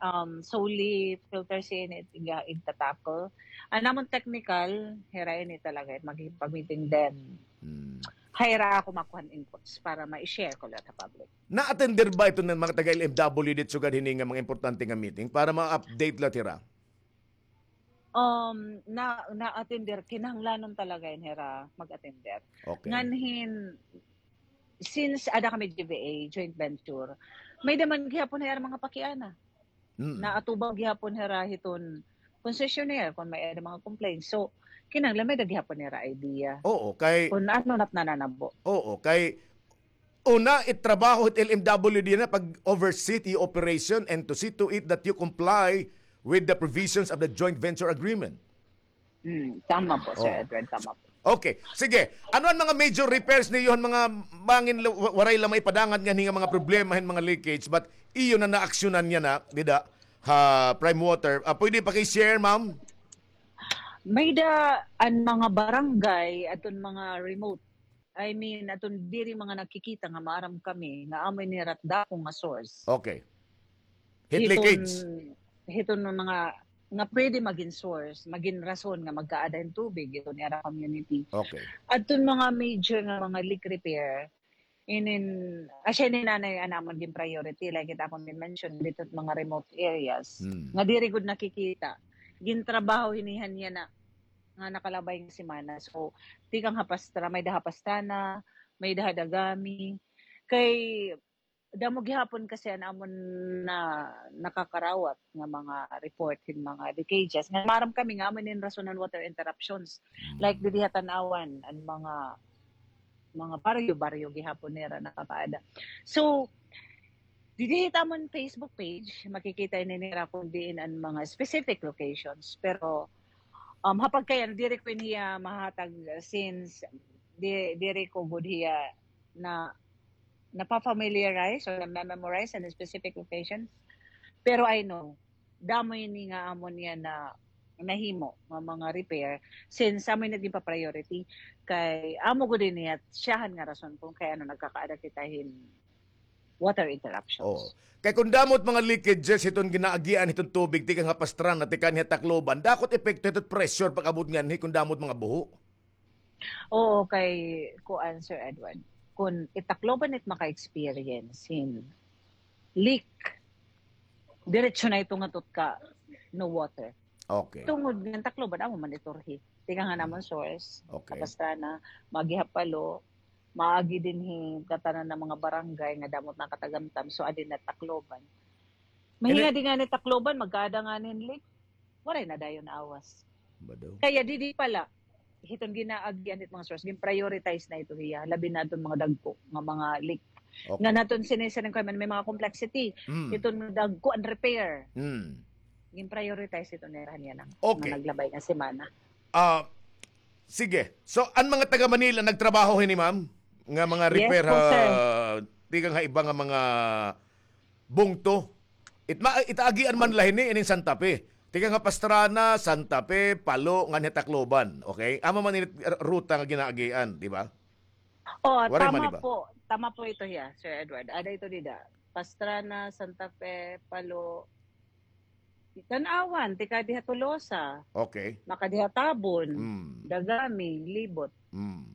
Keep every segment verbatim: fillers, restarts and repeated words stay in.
um, solely filters ini it iga-, igta-tackle. An amon technical, hira ini talaga it makikipag-meeting then. Hmm. Hira ako makuha an inputs para ma-share ko la ha public. Na-attender ba ito ng mga taga-L M W D sugad hini nga mga importante nga meeting para ma-update la hira? Um, na, na-attender, kinahanglanon talaga ini hira mag-attender. Okay. Nganhin, since ada kami G V A, joint venture, may-ada man gihapon hira mga pakiana. Mm. Naatubang gihapon hira hiton concessionaire kon may-ada mga complaints. So, kinahanglan may-ada gihapon hira idea. Oo, kay kun ano na it nananabo. Oo, kay una, it trabaho it L M W D na pag-oversee it iyo operation and to see to it that you comply with the provisions of the joint venture agreement. Hmm, tama po, Sir Edward, tama po. Okay, sige. Ano an mga major repairs niyo, an mga bangin la-, wa-, waray la maipadangat nganhi nga mga problema hin mga leakage, but iyo na naaksyonan yana dida ha Prime Water? Ah, pwede paki-share, ma'am? May-ada an mga barangay, adton mga remote, I mean, adton diri mga nagkikita nga maaram kami nga amo ini hira it dako nga source. Okay. Heat leakage. Hiton mga nga pwede magin source, magin rason nga magkaada hin tubig hiton ira community. Okay. Adton mga major nga mga leak repair, inin, asya ini nanay an amon gin-priority, like it akon gin-mention, didto mga remote areas, Hmm. nga diri gud nakikita. Gintrabaho hini han yana nga nakalabay nga semana. So, tikang ha Pastra-, may-ada ha Pastrana, may-ada ha Dagami. Kay damo gihapon kasi an amon na nakakarawat nga mga report hin mga leakages. Nga maaram kami nga amo ini an rason han water interruptions. Mm. Like didi ha Tanauan, an mga, mga baryo-baryo gihapon nira nakakaada. So, didi hit amon Facebook page, makikita ini nira kon diin an mga specific locations. Pero, um, ha pagkayana, diri ko ini hiya mahatag since di-, diri ko gud hiya na, napa-familiarize or na-memorize an specific locations. Pero I know, damo ini nga amo niya na nahimo nga mga repair since amo ini ginpa-priority kay amo gud ini it syahan nga rason kon kay ano nagkakaada kita hin water interruptions. Oo. Kay kon damo it mga leakages hiton ginaagian hiton tubig tikang ha Pastrana, tikang ha Tacloban, dako it epekto hiton pressure pag-abot nganhi kon damo it mga buho. Oo, kay kuan, Sir Edward, kon it Tacloban it maka-experience hin leak, diretso na ito ngadto ka no water. Okay. Tungod nga an Tacloban, amo man ito ri. Tikang han amon source, Okay. Pastrana, maagi ha Palo, maagi dinhi ngatanan nga mga barangay nga damo it nakatagamtam, so adi na Tacloban. Mahingadi ngani Tacloban, magkaada ngani hin leak. Waray na dayon awas. Kaya didi pa la, hiton ginaagian hit mga source, gin-prioritize na ito hiya, labi na adton mga dagko nga mga leak. Okay. Ngan adton sini-, sini-, may mga complexity. Mm. Hiton dagko an repair. Mm. Gin-prioritize ito nira niya na, Okay. nga naglabay nga semana. Ah, sige. So, an mga taga Manila nagtrabaho hini, ma'am? Nga mga Yes repair po, ha, sir. tikang ha iba nga mga bungto. It ma-, itaagian man la hini, ining Santa Fe. Tikang ha Pastrana, Santa Fe, Palo, ngan ha Tacloban. Okay? Amo man ini ruta nga ginaagian, di ba? Oh, Waray man tama iba. po. Tama po ito hiya, Sir Edward. Ada ito dida. Pastrana, Santa Fe, Palo, Tanauan, tikang diha Tolosa. Okay. Makadi ha Tabon, Mm. Dagami, Libot. Mm.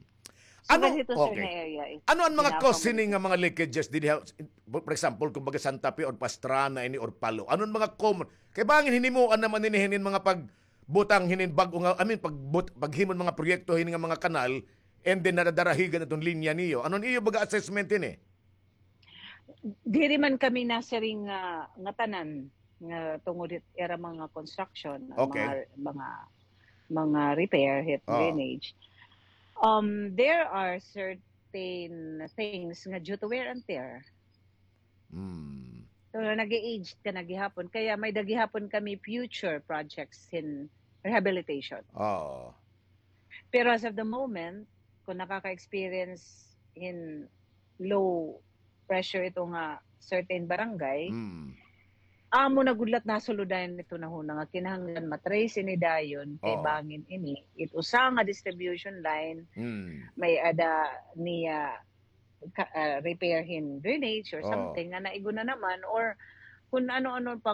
So, Ano, ganito, sir, okay. na area is Ano an mga cause hini nga mga leakages didi ha, for example, kumbaga Santa Fe or Pastrana ini or Palo? Ano an mga common? Kay bangin hinimuan naman hini hinin mga pagbutang hinin bag-o nga, I mean, pagbut-, paghimo hin mga proyekto hini nga mga kanal, and then nadadarahigan iton linya niyo. Ano an iyo baga assessment hini? Diri man kami nasiring nga, nga tanan nga tungod hit ira mga construction, Okay. mga, mga, mga repair hit Oo. drainage. Um, there are certain things nga due to wear and tear. Mm. So, nag-age ka na gihapon. Kaya may-ada gihapon kami future projects in rehabilitation. Oo. Pero as of the moment, kung nakaka-experience hin low pressure ito nga certain barangay, Mm. amo na gud la it nasuludan ito na huna nga kinahanglan ma-trace ini dayon kay Oo. bangin ini, it usa nga distribution line, Mm. may-ada niya ka-, ah, repair hin drainage or Oo. something nga naigo na naman or kung ano-ano pa